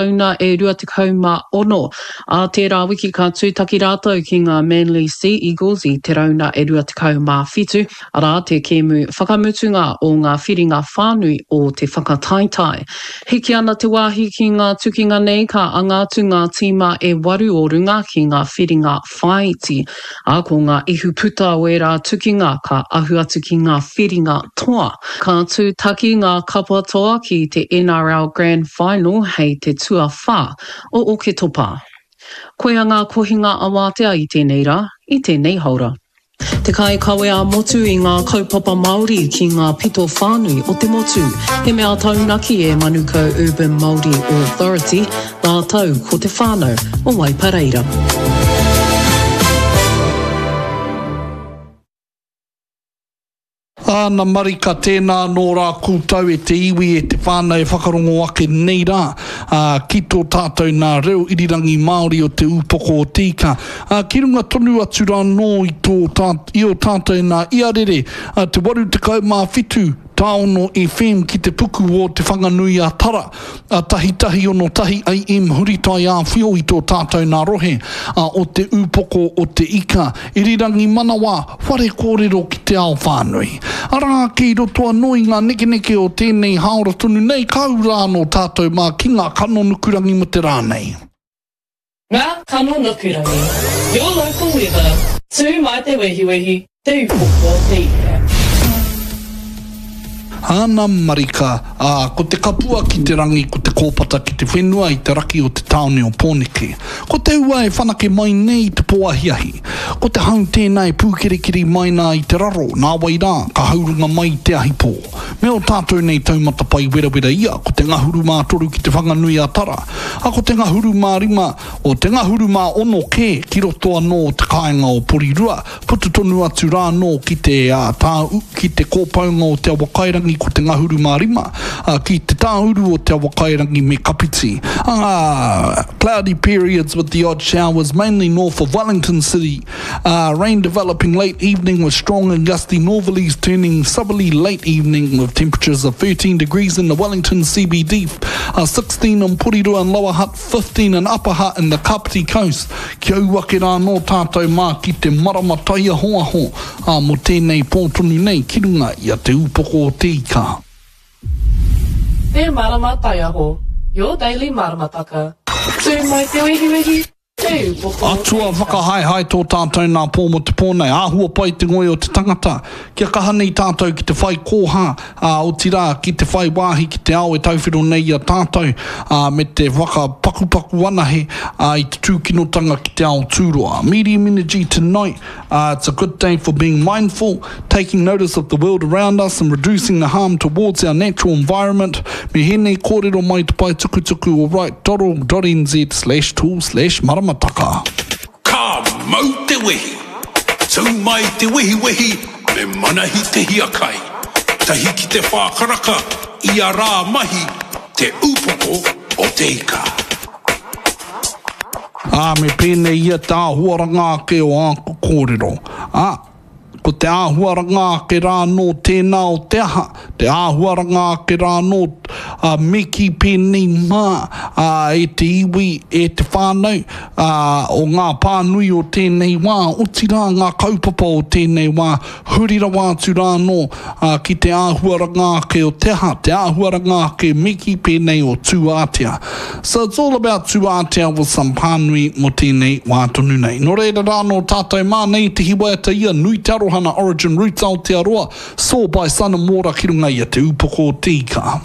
Rauna e 26. Ā tērā wiki ka tūtaki rātou ki ngā Manly Sea Eagles i te rauna e 27, arā, te kēmu whakamutunga o ngā whiringa whānui o te whakataetae. Hiki ana te wāhi ki ngā tukinga nei ka anga atu ngā tīma e waru o runga ki ngā whiringa whāiti, ā, ko ngā ihuputa o ērā tukinga ka ahu atu ki ngā whiringa toa. Ka tūtaki ngā kapa toa ki te NRL Grand Final hei te tuawhā o Oketopa. Koia ngā kohinga awātea i tēnei rā, i tēnei haora. Te kaikawe ā-motu i ngā kaupapa Māori ki ngā pito whānui o te motu. He mea taunaki e Manukau Urban Māori Authority, rātou ko te whānau o Waipareira. Āna marika, tēnā anō rā koutou e te iwi, e te whānau e whakarongo ake nei rā, ā, ki tō tātou nā reo irirangi Māori o Te Ūpoko o Te Ika, ā, ki runga tonu atu rā anō i tō tā, i ō tātou nā iarere, ā, te 87 tāono FM ki te puku o Te Whanganui-a-Tara, a tahitahi ono tahi AM Huritai Āwhio i tō tātou nā rohe, ā, o Te Ūpoko o Te Ika, Irirangi Manawa, Whare kōrero ki te ao whānui. Arā ake i roto anō i ngā nekeneke o tēnei hāora tonu nei ka ū rā anō tātou mā ki ngā kano nukurangi mo te rā nei. Ngā kano nukurangi. Your local weather, Tū mai te wehiwehi, Te Upoko o Te Ika. Āna marika, ā, ko te kapua ki te rangi, ko te kōpata ki te whenua i te raki o te tāone o Pōneke. Ko te ua e whanake mai nei i te pō ahiahi. Ko te hau tēnā e pūkerekere mai nā i te raro, nāwai rā, ka haurunga mai i te ahi pō. Me ō tātou nei taumata pai werawera ia, ko te ngahuru mā toru ki Te Whanganui a Tara, ā, ko te ngahuru mā rima, o te ngahuru mā ono kē ki roto anō o te kāinga o Porirua, Puta tonu atu rā anō ki te, ā, tā, ki te kōpaunga o Te Awakairangi ko te ngahuru mā rima, ā, ki te tāuru o Te Awakairangi me Kapiti. Ā, cloudy periods with the odd showers, mainly north of Wellington City. Ā, rain developing late evening with strong and gusty northerlies turning southerly late evening with temperatures of 13 degrees in the Wellington CBD, ā, 16 in Porirua and Lower Hutt, 15 in Upper Hutt and the Kapiti Coast. Kia ū ake rā anō tātou mā ki te marama taiahoaho, ā, mō tēnei pō tonu nei ki runga i a Te Ūpoko o Te Ika. Te Marama Taiaho, your daily maramataka. Tū mai te wehiwehi, Te Ūpoko o Te Atua Ika. whakahaehae tō tātou nā pō mō te pō nei. Āhua pai te ngoi o te tangata. Kia kaha nei tātou ki te whai kōha, ā, otirā, ki te whai wāhi ki te ao e tauwhiro nei i a tātou, ā, me te whakapakupaku anahe, ā, i te tūkinotanga ki te ao tūroa. Medium energy tonight, ā, it's a good day for being mindful, taking notice of the world around us and reducing the harm towards our natural environment. Me hēnei kōrero mai te pae tukutuku o write.org.nz slash tool slash maramataka. Ka mau te wehi! Tū mai te wehiwehi me Manahi Te Hiakai. Tahi ki te whā karaka ia rā mahi Te Upoko o Te Ika. Ā, me pēnei ia te āhuaranga ake o āku kōrero. Ā, ko te āhuaranga ake rā anō tēnā o te aha, te āhuaranga ake rā anō, ā, me kī pēnei mā, ā, e te iwi, e te whānau, ā, o ngā pānui o tēnei wā, otirā ngā kaupapa o tēnei wā, huri rawa atu rā anō, ā, ki te āhuaranga ake o te aha, te āhuaranga ake me kī pēnei o Tūātea. So it's all about Tūātea with some pānui mō tēnei wā tonu nei. Nō reira rā anō tātou mā nei te hiwaiata ia, nui te aroha nā Origin Roots Aotearoa, Saw by Sun and Water ki runga i a Te Ūpoko o Te Ika.